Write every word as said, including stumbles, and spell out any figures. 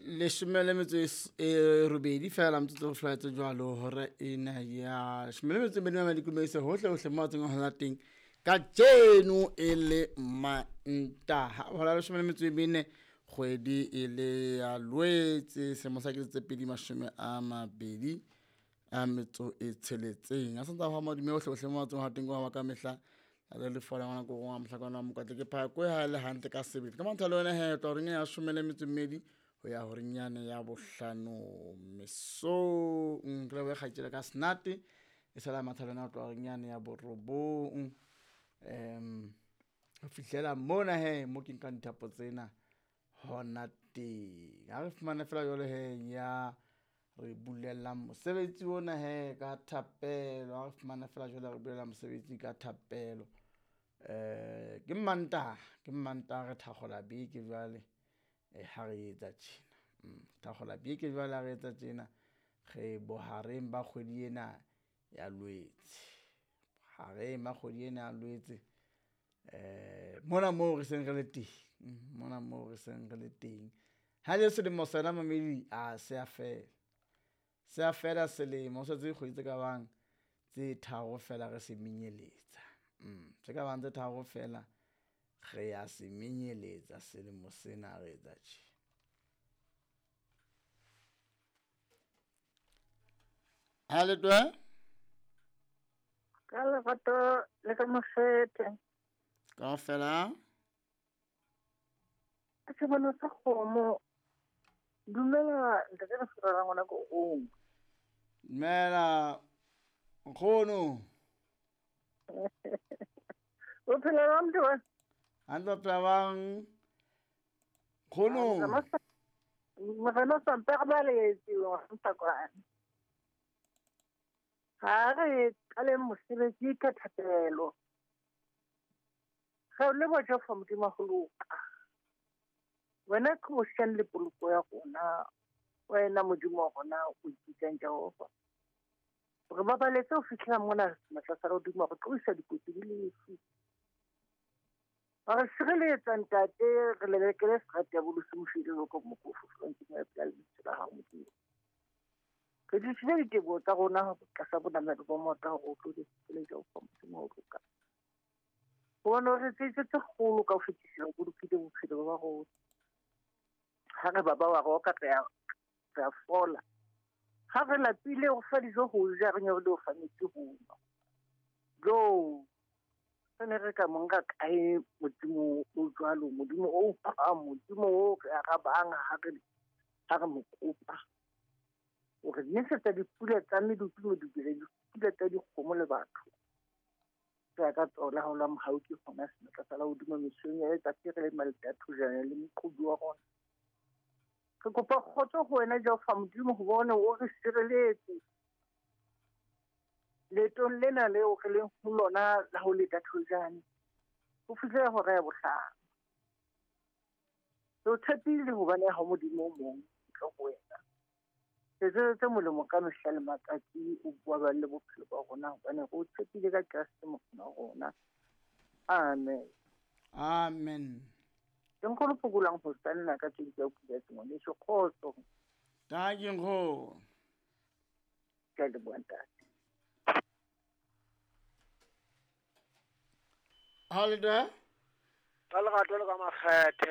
Leshome le metso e robedi fela motsotso go flaetse jwalo hora ena ya leshome le metso e mmedi mamedi kumeise hohle hohle mo tseng ho la teng kajeno e le Mantaha hora leshome le metso e mene kgwedi e le ya Lwetse selemo sa kete tse pedi mashome a mabedi a metso e tsheletseng. A santse a hwa madume hohle hohle mo tseng ho teng kwa ka mehla le le fola ngwana ko ngwa mohlakana wa mokwatle ke phakwe ha le hantle ka sebele ka mantha le wena he tla horeng ya shome le metso e mmedi ho ya horeng yane ya bohlano mesong. Ke lebohe kgaitsedi ka Snate e sala matha le wena ho tloha horeng yane ya borobong um ho fihlela mona he mo ke nkang dithapo tsena hona teng. Ha re fumane fela jwale he ya re bulelang mosebetsi ona he ka thapelo. Ha re fumane fela jwale re bulela mosebetsi ka thapelo. Eh ke Mantaha, ke Mantaha re thakgola beke jwale eh ha re etsa tjena. Mm thakgola beke jwale ha re etsa tjena re bohareng ba kgwedi ena ya Lwetse. Bohareng ba kgwedi ena ya Lwetse. Eh mona moo re seng re le teng, mona moo re seng re le teng. Ha le selemo sena mamedi a se a fela. Se a fela selemo, ho setse dikgwedi tse ka bang tse tharo fela re se menyeletsa. Mm tse ka bang tse tharo fela re ya se menyeletsa selemo sena re etsa tje. Ha le twe? Ka lerato le ka mofete. Kaofela. Ke sebono sa kgomo. Dumela ntate re fela ngwana ko o. Dumela nkgono. O phela jwang motho wa? Hantle o phela bang nkgono? Morena o sa mpe re baletse wa Mtakwane. Ha re qaleng mosebetsi ka thapelo. Re o leboha Jehova Modimo ho loka. Wena ke bohlale le poloko ya rona. Wena Modimo wa rona o ipitsang Jehova. Re babaletse ho fihlela mona matlasa a hodimo re tloisa dikotsi le lefu. Re sireletsa ntate re lelekele serati ya bolosi moshidi lo ko mokofu fronting ya pela lebitso la hao Modimo. Re tlisitse diteboho tsa rona tlasa bonamelo ba mota hore o tlo di le Jehova Modimo ho loka. Hobane re tsetse tse kgolo ka ho fetisisa ho bolokile bophelo ba rona. Ha re ba ba wa roka re a re a fola. Ha re lapile ho fa dijo ho ja re nyorile ho fa metsi ho nwa. Jo re ne re ka monka kae Modimo o jwalo, Modimo o utlwang, Modimo o re arabang ha re ha re mo kopa. O re nesetsa dipula tsa medupi medubile dipula tsa dikgomo le batho. Re ka tsona ha o la mohau ke hona senatla sa la hodimo mesong ya letsatsi re le maleta thojana le moqobi wa rona. Re kopa kgotso ho wena Jehova Modimo hobane o re sireletse leetong lena leo re leng ho lona la ho leta thojane ho fihlela hora ya bohlano. Re o tshepile hobane ha Modimo o mong ntle ho wena. Re tsetse molemo ka mehla le matsatsi o bua ba le bophelo ba rona hobane re o tshepile ka Kreste Morena wa rona. Amen. Amen. Ke nkgono phokolang ho stanna ka tse di pula tse ngwaneso kgotso. Dankie nkgono. Ke a leboha ntate. Ha le twe? Ka lerato le ka makgethe.